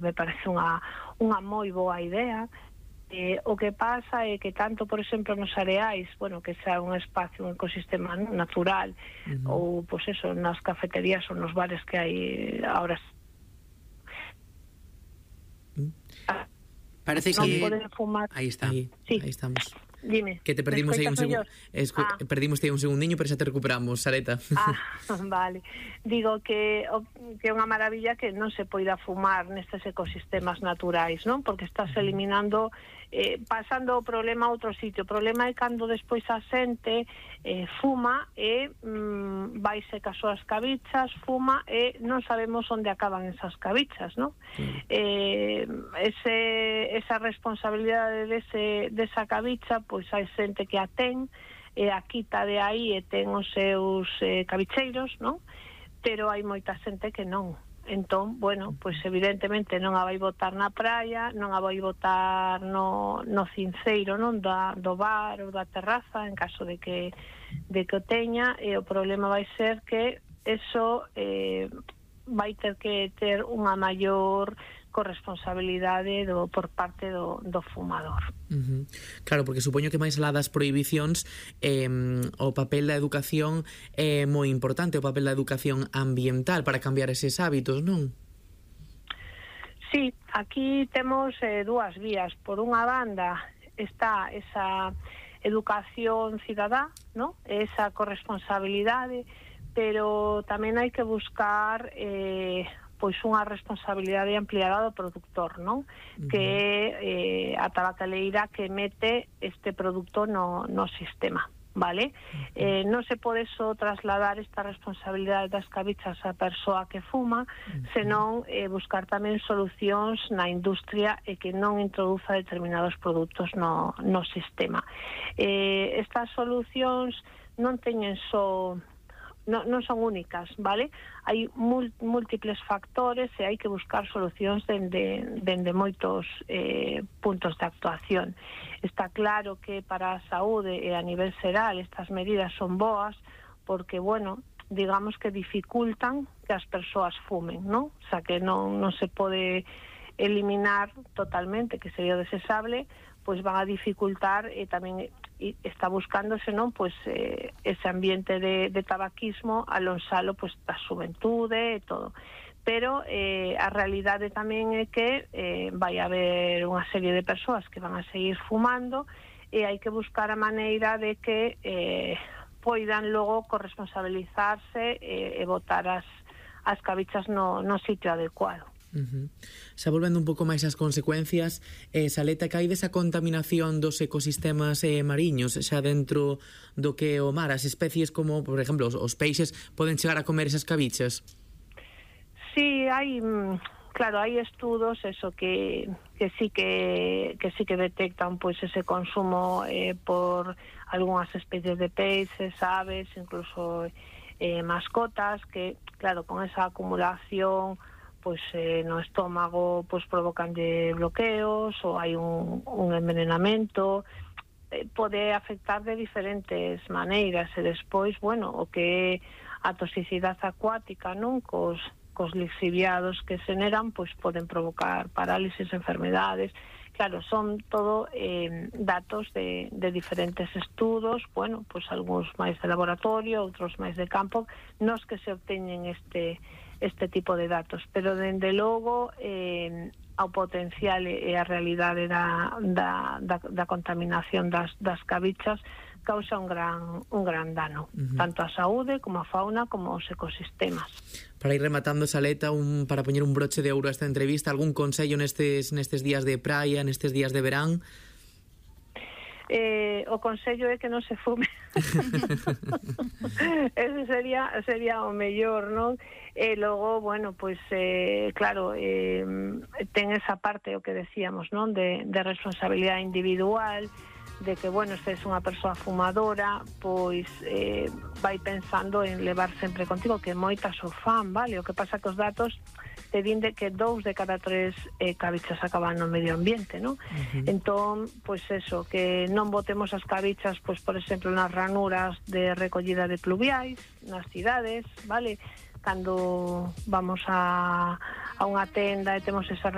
me parece unha moi boa idea. O que pasa é que tanto, por exemplo, nos areais, bueno, que sea un espacio, un ecosistema natural, ou, pois eso, nas cafeterías ou nos bares que hai ahora, Parece non que poden fumar. aí está, sí. aí estamos. Dime, Que te perdimos aí un segundo. Perdimos aí un segundiño, pero xa te recuperamos, Sareta. Vale. Digo que é unha maravilla que non se poida fumar nestes ecosistemas naturais, non? Porque estás eliminando, pasando o problema a outro sitio. O problema é cando despois a xente fuma e vaise cas súas cabichas, fuma e non sabemos onde acaban esas cabichas, non? Esa responsabilidade desa cabicha, pois hai xente que a ten e a quita de aí e ten os seus cabicheiros, non? Pero hai moita xente que non. Entón, bueno, pois evidentemente non a vai botar na praia, non a vai botar no cinceiro, non, do bar ou da terraza, en caso de que o teña, e o problema vai ser que eso vai ter que ter unha maior corresponsabilidade por parte do fumador. Claro, porque supoño que máis alá das prohibicións, o papel da educación é moi importante, o papel da educación ambiental para cambiar eses hábitos, non? Sí, aquí temos dúas vías. Por unha banda está esa educación cidadá, non? Esa corresponsabilidade, pero tamén hai que buscar pois unha responsabilidade ampliada do produtor, non? Que é a tabacaleira que mete este produto no sistema, vale? Non se pode só trasladar esta responsabilidade das cabichas á persoa que fuma, senón buscar tamén solucións na industria e que non introduza determinados produtos no sistema. Estas solucións non teñen só, non son únicas, vale? Hai múltiples factores e hai que buscar solucións dende moitos puntos de actuación. Está claro que para a saúde e a nivel xeral estas medidas son boas porque, bueno, digamos que dificultan que as persoas fumen, non? O sea, que non se pode eliminar totalmente, que sería desexable, pois van a dificultar e tamén está buscándose, non, pois ese ambiente de tabaquismo alonsalo pois da xuventude e todo. Pero a realidade tamén é que vai haber unha serie de persoas que van a seguir fumando e hai que buscar a maneira de que poidan logo corresponsabilizarse e botar as cabichas no sitio adecuado. Xa volvendo un pouco máis ás consecuencias, Saleta, que hai desa contaminación dos ecosistemas mariños xa dentro do que o mar, as especies como, por exemplo, os peixes poden chegar a comer esas cabichas? Sí, hai, claro, hai estudos eso que sí que detectan pois ese consumo por algunhas especies de peixes, aves, incluso mascotas, que claro, con esa acumulación pois no estómago pois provocan de bloqueos ou hai un envenenamento, pode afectar de diferentes maneiras e despois, bueno, o que é a toxicidade acuática, non, cos lixiviados que se generan, pois poden provocar parálisis, enfermedades. Claro, son todo datos de diferentes estudos, bueno, pois algúns máis de laboratorio, outros máis de campo, nos que se obteñen este tipo de datos, pero dende logo ao potencial e a realidade da contaminación das cabichas causa un gran dano, tanto á saúde como á fauna como aos ecosistemas. Para ir rematando, Saleta, para poñer un broche de ouro a esta entrevista, algún consello nestes días de praia, nestes días de verán? O consello é que non se fume. Ese sería o mellor, non? E logo, bueno, pois claro, ten esa parte, o que decíamos, non? De responsabilidade individual, de que, bueno, se és unha persoa fumadora, pois vai pensando en levar sempre contigo, que moitas o fan, vale? O que pasa que os datos te din de que 2 de cada 3 cabichas acaban no medio ambiente, non? Entón, pois eso, que non botemos as cabichas, pois, por exemplo, nas ranuras de recollida de pluviais, nas cidades, vale? Cando vamos a unha tenda e temos esa